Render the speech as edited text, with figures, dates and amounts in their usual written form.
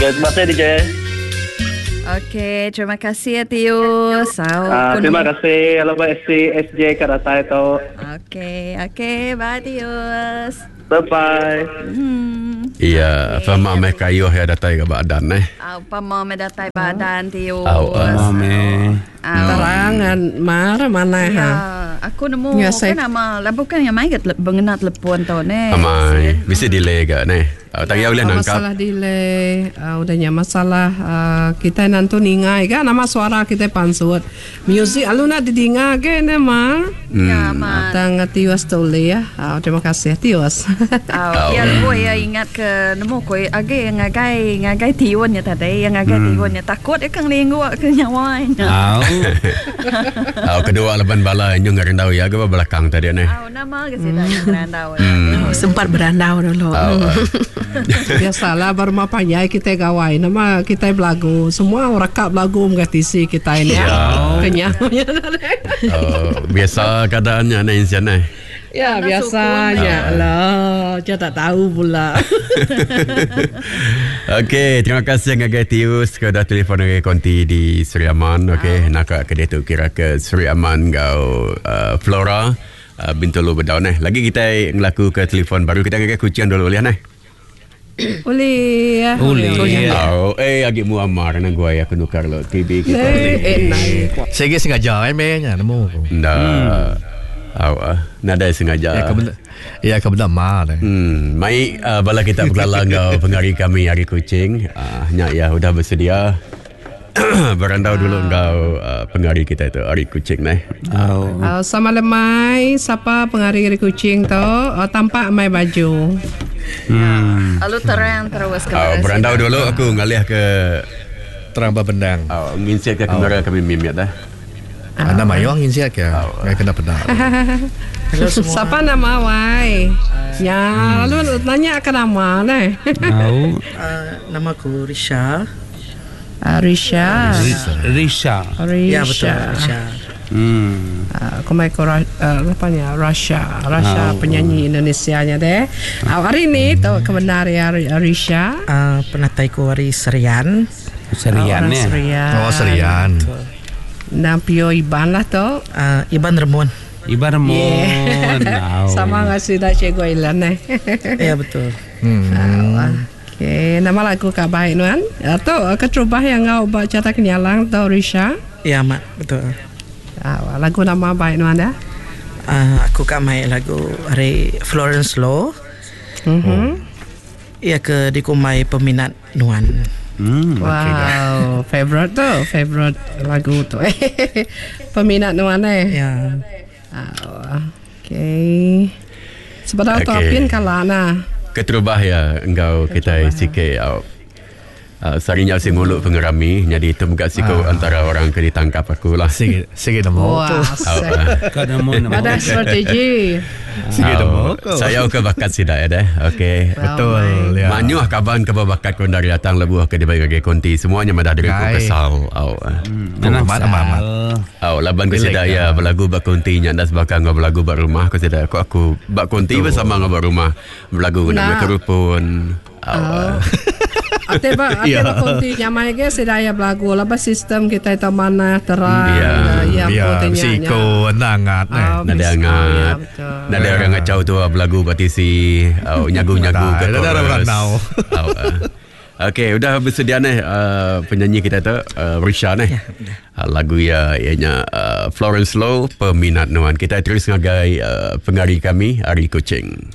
Okay, terima kasih DJ. Okey, terima kasih ya Tius. Au, Ah, aku terima nemu- kasih hello SC SJ ke datai tu. Okey, okey, bye Tius. Bye bye. Iya, fama meh kayuh ya datai ke badan eh. Au, pama meh datai badan Tius. Au, ah. Meh. Au. Terangan mar mana Ya, ha. aku nemu Ya, kan saya- nama lah bukan yang mai ke tele- mengena telefon tu ne. Amai, bisi delay ke ne. Uh, tak boleh Ah, nangkap. Masalah delay, udahnya masalah kita nanti ningai kan nama suara kita pansut. Music aluna didinga ke ne ma. Ya, ma. Tang Tiwas tuli ya. Terima kasih Tiwas. Au, ya lebuh ya ingat ke nemu ko age ngagai ngagai tiun ya tadi, yang ngagai tiun ya takut ya kang linggu ke nyawa nya. Au. Au kedua laban bala nyu ngerendau ya ke belakang tadi ne. Au nama ke sida yang berandau. Hmm. Sempat berandau dulu. Au. ah. Biasalah baru ma panjai kita gawai nama kita belagu. Semua orang kap belagu mengatisi kita ini ya. Kenyang. Oh, biasa keadaannya ne insian ne. Ya biasanya lah. Saya tak tahu pula. Okey, terima kasih ngagai Tius ke dah telefon ngagai konti di Seri Aman. Okey, nak ke dia tu kira ke Seri Aman ngau Flora Bintulu Bedau neh. Lagi kita ngelaku ke telefon baru kita ngagai kucian dulu boleh neh. Boleh ya. Boleh. Oh, eh agi Muammar nang gua aku nukar lo TV kita. Eh, eh, naik. Saya sengaja eh meh nya nemu aku. Nda. Au ah, nadai sengaja. Ya ke benda ya ke benda ma deh. Mai bala kita berkelala ngau pengari kami hari kucing. Nyak ya udah bersedia. Berandau dulu ngau pengari kita itu hari kucing neh. Au. Sama lemai, siapa pengari hari kucing tu? Tampak mai baju. Lalu terang terus ke Oh, berandau dulu aku ngalih ke Terang bendang. oh, nginsiat ke kamera kami mimit dah. Anda mayong insiat ke? Ngai kena pedang. Hello semua. Siapa nama wai? Ya, lalu nanya ke nama neh. Au. Nama aku Risha. Risha. Risha. Risha. Ya betul Risha. Aku mai ke apa ni Russia, Russia penyanyi Indonesia-nya deh. Hari ni tu kebenar ya Risha. Penatai ku hari Serian. Serian Orang ni. Serian. Oh Serian. Nang Pio Iban lah tu. Iban Remun. Iban Remun. Au. Sama ngasih dah cikgu Ilan eh. Ya betul. Okey, nama lagu kak baik nuan. Tu keterubah yang ngau buat cerita kenyalang tu Risha. Ya mak betul. Lagu nama baik nuan dah. Aku kak main lagu hari Florence Law. Ya ke dikumai peminat nuan. Wow, favorite tu, favorite lagu tu. Peminat nuan eh. Ya. Okey. Sebab tu Okey. apin kalah nah. Keterubah ya engkau kita sikit au. Sarinya si nguluk pengerami jadi itu bukan siku antara orang ke ditangkap aku lah. Sige sige nemu. Wah, Kau nemu nemu. ada strategi. Sige nemu. Saya ke bakat sida ya deh. Okey. Betul ya. Manyuh kaban ke bakat kau dari datang lebuh ke dibagi bagi konti semuanya madah dari ku Kai. kesal. Au. Nanang Amat, amat, amat. Au laban ku Relax sida ya berlagu bak konti nya ndas bakal ngau berlagu bak rumah ku sida aku aku bak konti bersama ngau bak rumah berlagu Nah. nak kerupun. Au. Ate ba ate ba konti nyamai ke sedaya belagu lah ba sistem kita itu mana terang Ya. ya Ya, putihnya. siko nangat eh. Nada angat. Nada orang ngacau tu berlagu batisi au nyagu-nyagu ke Nada, nada chorus. berandau. Au, ah. Okey, udah bersedia ni penyanyi kita tu Risha ni. Ya, lagu ya ianya Florence Low Peminat Nuan. Kita terus ngagai pengari kami Ari Kucing.